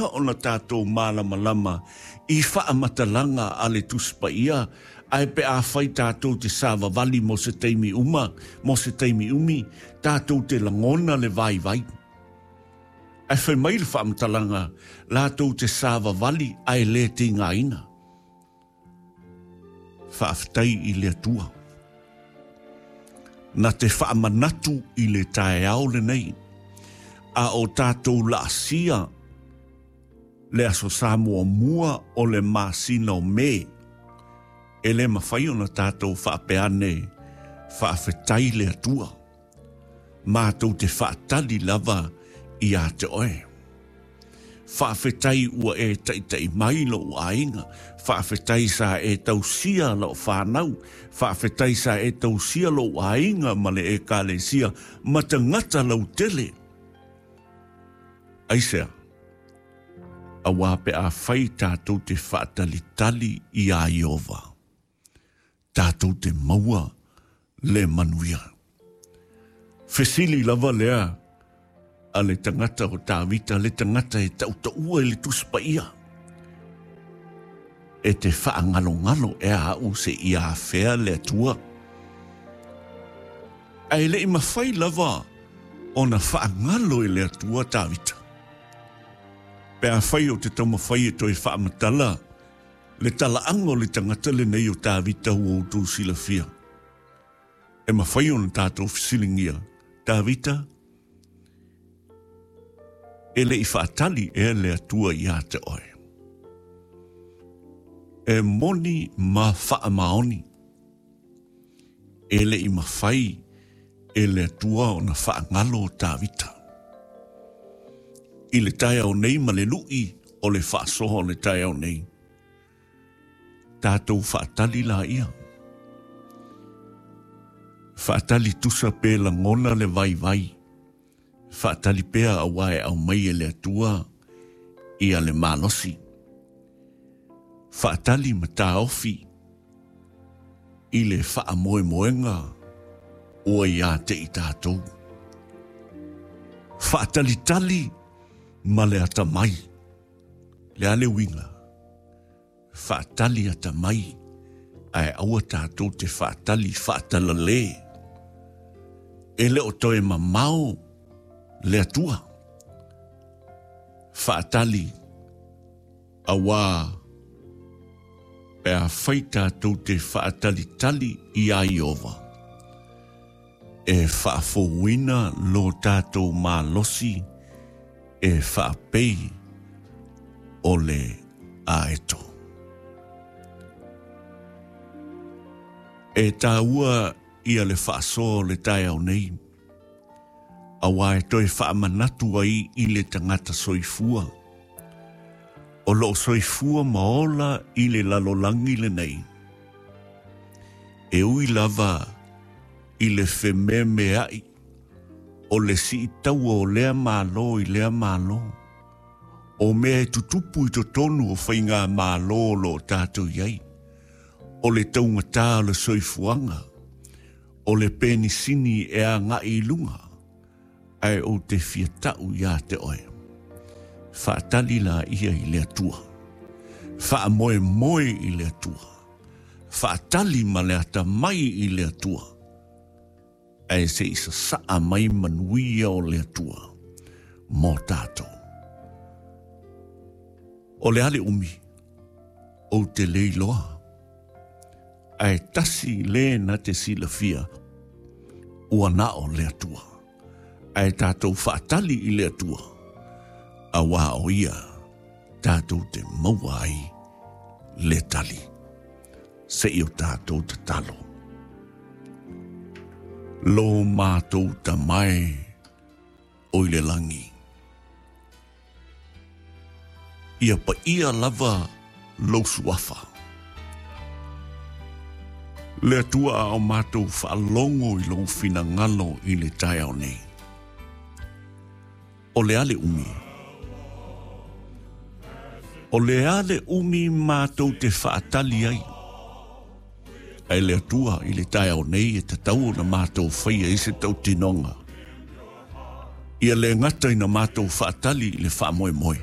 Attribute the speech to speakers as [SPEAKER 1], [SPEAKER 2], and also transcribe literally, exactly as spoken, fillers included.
[SPEAKER 1] pea ona tātou mālamalama i whaamatalaga a le Tusi Paia, ae pe afai tātou te savavali mo se taimi uma, mo se taimi umi, tātou te lagona le vaivai. Ae fai mai le faamatalaga, latou te savavali ae lē tigaina. Faafetai i le Atua. Na te faamanatu i le taeao lenei, a o tātou laasia le Aso Sa muamua o le masina o Me, e lē mafai ona tātou faapea ane faafetai le Atua. Matou te faatali lava iā te oe. Faafetai ua e taʻitaʻi mai loʻu aiga, faafetai sa e tausia loʻu fanau, faafetai sa e tausia loʻu aiga ma le ekalesia ma tagata lautele. Aisea? Auā pe afai tātou te faatalitali iā Ieova, tātou te maua le manuia. Fesili lava lea a le tagata o Tavita, le tagata e tautaua i le Tusi Paia. E te faagalogalo ea aʻu seia afea le Atua? Ae leʻi mafai lava ona faagalo e le Atua Tavita. Pe afai o te taumafai e toe faamatala le talaaga o le tagata lenei o Tavita ua outou silafia, e mafai ona tatou fesiligia, Tavita, e leʻi faatali ea le Atua iā te oe? E moni ma faamaoni, e leʻi mafai e le Atua ona faagalo o Tavita. I le taeao nei ma le luʻi o le faasoa o le taeao nei, tatou faatali laia. Faatali tusa pe lagona le vaivai, faatali pea auā e aumai e le Atua ia le malosi. Faatali ma taofi i le faamoemoega ua iā te i tātou. Faatalitali ma le atamai. Le a le uiga? Faatali atamai, ae aua tātou te faatali faatalalē. E le o toe mamao le Atua. Faatali auā pe afai tātou te faatalitali iā Ieova, e faafouina lo tātou malosi e faapei o le aeto. E tāua ia le faasoa o le taeao nei, auā e toe faamanatu ai i le tagata soifua, o loo soifua ma ola i le lalolagi lenei. E ui lava i le fememeaʻi o le siitaua o lea mālō i lea mālō, o mea e tutupu i totonu o faiga mālō o loo tātou i ai, o le taugatā o le soifuaga, o le penisini e agaʻi i luga, ae ou te fia taʻu iā te oe. Faatali laia i le Atua. Faamoemoe i le Atua. Faatali ma le atamai i le Atua. Ae seʻi sasaa mai manuia o le Atua mo tātou. O le a le umi, ou te le iloa. Ae tasi lē na te silafia, ua na o le Atua. Ae tātou faatali i le Atua, auā o ia tātou te maua ai le tali. Seʻi o tātou tatalo. Lo mātou Tama e o i le lagi, ia paia lava lou suafa. Le Atua a o mātou faalogo i lou finagalo i le taeao nei. O le a le umi? O le a le umi mātou te faatali ai? Ae le Atua i le taeao nei e tatau ona mātou faia ai se tautinoga. Ia lē gata ina mātou faatali i le faamoemoe.